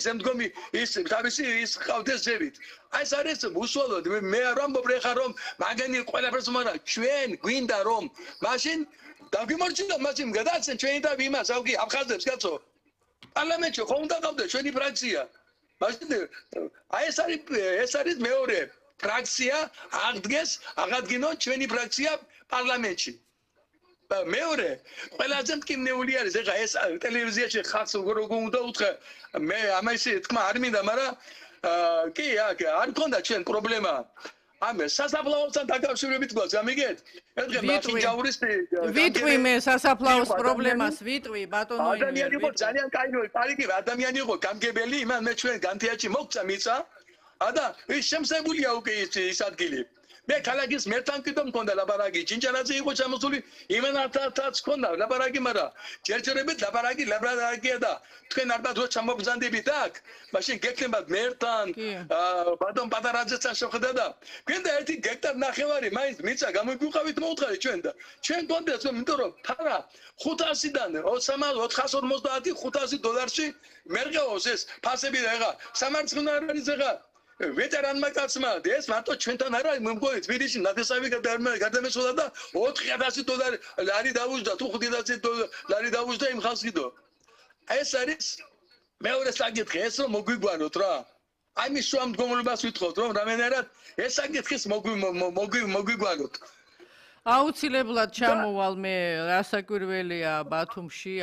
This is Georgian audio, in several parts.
ზემდგომი ის თავისი ის ყავდეს ზევით. აი ეს არის უსვალოდ მე არ ვამბობ ხა რომ მაგენი ყველაფერს მაგრამ ჩვენ გვინდა რომ მაშინ დაგვიმორჩილო მაშინ გადააცენ ჩვენი და იმას ავგი აფხაზებს კაცო. პარლამენტში ხომ უნდა გავდე ჩვენი ფრაქცია. მაშინ აი ეს არის მეორე ფრაქცია აღადგინოთ ჩვენი ფრაქცია პარლამენტში. მეორე ყველაზე მტკივნეული არის ეხა ეს ტელევიზიაში ხალხს როგორ უნდა უთხრა მე ამასი თქმა არ მინდა მაგრამ კი არ მქონდა ჩვენ პრობლემა ამ სასაფლაოსთან დაკავშირებით გვაქვს ამიგეთ ერთხელ მათი ჯაურისტი ვიტყვი მე სასაფლაოს პრობლემას ვიტყვი ბატონო ადამიანი იყო ძალიან კაი ადამიანი იყო გამგებელი იმან მე ჩვენ განთიაჩი მოგცა მიწა და ის შემსებულია უკვე ის ადგილი მე ქალაქის მერთან კიდევ მქონდა ლაბარაგი ჩინჩანაძე იყო ჩამოსული იმენათაც მქონდა ლაბარაგი მაგრამ ჯერჯერობით ლაბარაგია და თქვენ ალბათ რო ჩამოგზანდებით აქ მაშინ გეკნებათ მერთან ბატონ პატარაძეთან შეხვდა და გვინდა 1 გექტარ ნახევარი მაინც მიწა გამოგვიყავით მოუთხარი ჩვენ და ჩვენ გონდეს იმიტომ რომ ფარა 500-დან 450 $500 მერყეოს ეს ფასები და ეხა სამარცხინო არ არის ეხა ვეტერანმა კაცმა ეს მარტო ჩვენთან არა მომგონი თბილისში ნათესავი გადამესვლა და $4000 ლარი დაუჟდა თუ $5000 დაუჟდა იმ ხალხს კიდო ეს არის მეორე საკითხი ეს რომ მოგვიგვაროთ რა აი მის შუამდგომლობას ვითხოვთ რომ რამენერად ეს საკითხის მოგვიგვაროთ აუცილებლად ჩამოვალ მე რასაკვირველია ბათუმში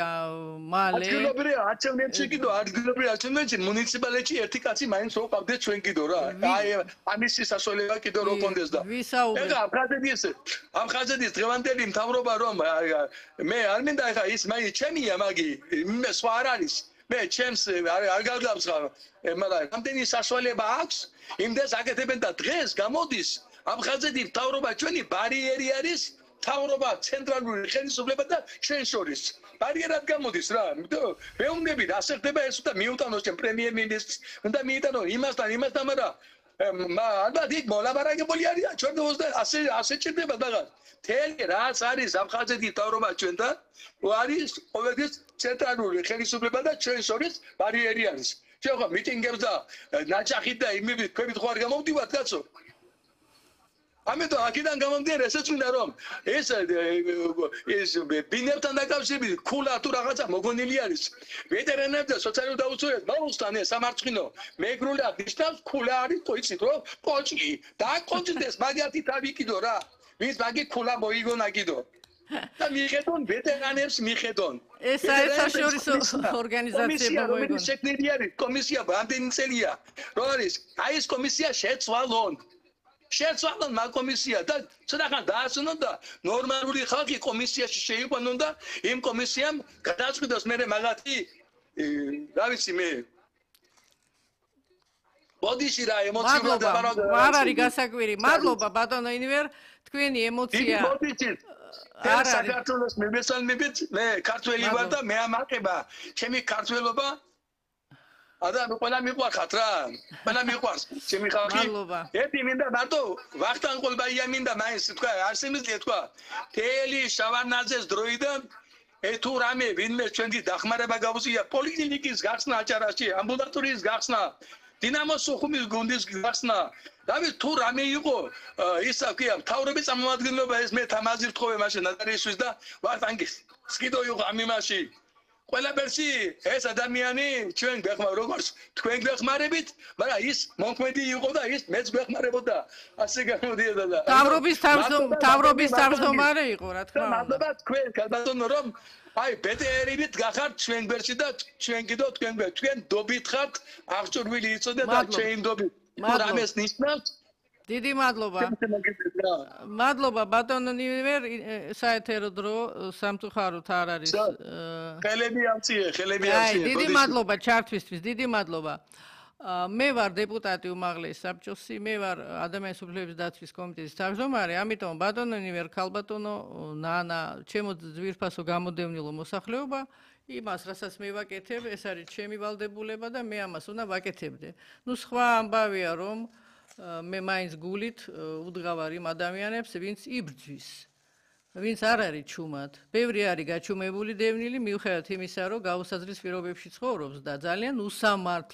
მალე ადგილობრივი არჩევნებში კიდო ადგილობრივი არჩევნებში მუნიციპალიტეტში ერთი კაცი მაინც რო ყავდეს ჩვენ კიდო რა აი ამის სასწავლება კიდო რო კონდეს და ეხა აფხაზეთის დღევანდელი მთავრობა რომ მე არ მინდა ეხა ის მაინც ჩემია მაგი მე სხვა არ არის მე ჩემს არ გავგავსხა მაგრამ რამდენი სასწავლება აქვს იმდეს აკეთებენ და დღეს გამოდის აფხაზეთის მთავრობა ჩვენი ბარიერი არის მთავრობა ცენტრალური ხელისუფლება და ჩვენ შორის ბარიერად გამოდის რა მეუბნები ასე ხდება ეს და მიუტანოს ჩემ პრემიერ-მინისტრს უნდა მიიტანო იმასთან მაგრამ ალბათ იქ მოლაბარაგებული არის ჩვენ და ასე ჭირდება რაღაც თელი რაც არის აფხაზეთის მთავრობა ჩვენთან არის ყოველთვის ცენტრალური ხელისუფლება და ჩვენ შორის ბარიერი არის ჩვენ ხო მიტინგებს და ნაჭახით და იმებით ქვებით ხო არ გამოვდივართ კაცო ამიტომ აქედან გამომდინარე ესეც მინდა რომ ეს ბინებთან დაკავშირებით ქულა თუ რაღაცა მოგონილი არის ვეტერანებს და სოციალურ დაუცველებს მოუსთან ეს სამარცხინო მეგრულად ნიშნავს ქულა არის ყოიცით რომ ყოჭი და ყოჭდეს მაგათი თავი კიდო რა ვის მაგი ქულა მოიგონა კიდო და მიხედონ ვეტერანებს მიხედონ ეს საერთაშორისო ორგანიზაციები მოიგონა შექმნილი არის კომისია რამდენი წელია რო არის აი ეს კომისია შეცვალონ მაგ კომისია და ცოტახან დაასვენონ და ნორმალური ხალხი კომისიაში შეიყვანონ და იმ კომისიამ გადაწყვიტოს მე მაგათი რა ვიცი მე ბოდიში რა ემოციურად არ არის გასაკვირი მადლობა ბატონო ინივერ თქვენი ემოცია არ საქართველოს მებესალმებით მე ქართველი ვარ და მე ამაყება ჩემი ქართველობა ადამი ყველა მიყვარხათ რა ყველა მიყვარს ჩემი ხალხი ერთი მინდა მარტო ვახტანგ ყოლბაია მინდა მაინც თქვა არ შემიძლია თქვა თელი შავარნაძეს დროიდან თუ რამე ვინმე ჩვენი დახმარება გავუწია პოლიკლინიკის გახსნა აჭარაში ამბულატორიის გახსნა დინამოს სოხუმის გუნდის გახსნა დავით თუ რამე იყო ისა ქვია მთავრობის წარმომადგენლობა ეს მე თამაზი ვთხოვე მაშინ ნატარიისთვის და ვახტანგის სკიდო იყო ამ იმაში ყველაფერში ეს ადამიანი ჩვენ გვეხმარ როგორც თქვენ გვეხმარებით, მაგრამ ის მომქმედი იყო და ის მეც გვეხმარებოდა. ასე გამოდიოდა და თავრობის თავმჯდომარე იყო, რა თქმა უნდა. მადლობა თქვენ, ბატონო, რომ აი ბეტერებით გახართ ჩვენ გვერდში და ჩვენ კიდევ თქვენ დობით ხართ, აღჭურვილი იწოდეთ და ჩვენ დობით. რამეს ნიშნავს? დიდი მადლობა. მადლობა ბატონო ნივერ საეთერო დრო სამწუხაროდ არ არის. ხელები ამციე. დიდი მადლობა ჩართვისთვის, დიდი მადლობა. მე ვარ დეპუტატი უმაღლეს საბჭოსი, მე ვარ ადამიანის უფლებების დაცვის კომიტეტის თავმჯდომარე, ამიტომ ბატონო ნივერ ქალბატონო ნანა, ჩემო ძვირფასო გამოდევნილო მოსახლეობა, იმას რასაც მე ვაკეთებ, ეს არის ჩემი ვალდებულება და მე ამას უნდა ვაკეთებდე. ნუ სხვა ამბავია რომ მე მაინც გულით უდგავარ იმ ადამიანებს, ვინც იბრძვის, ვინც არ არის ჩუმად. ბევრი არის გაჩუმებული დევნილი, მიუხედავად იმისა, რომ გაუსაზღრის პირობებში ცხოვრობს და ძალიან უსამართლო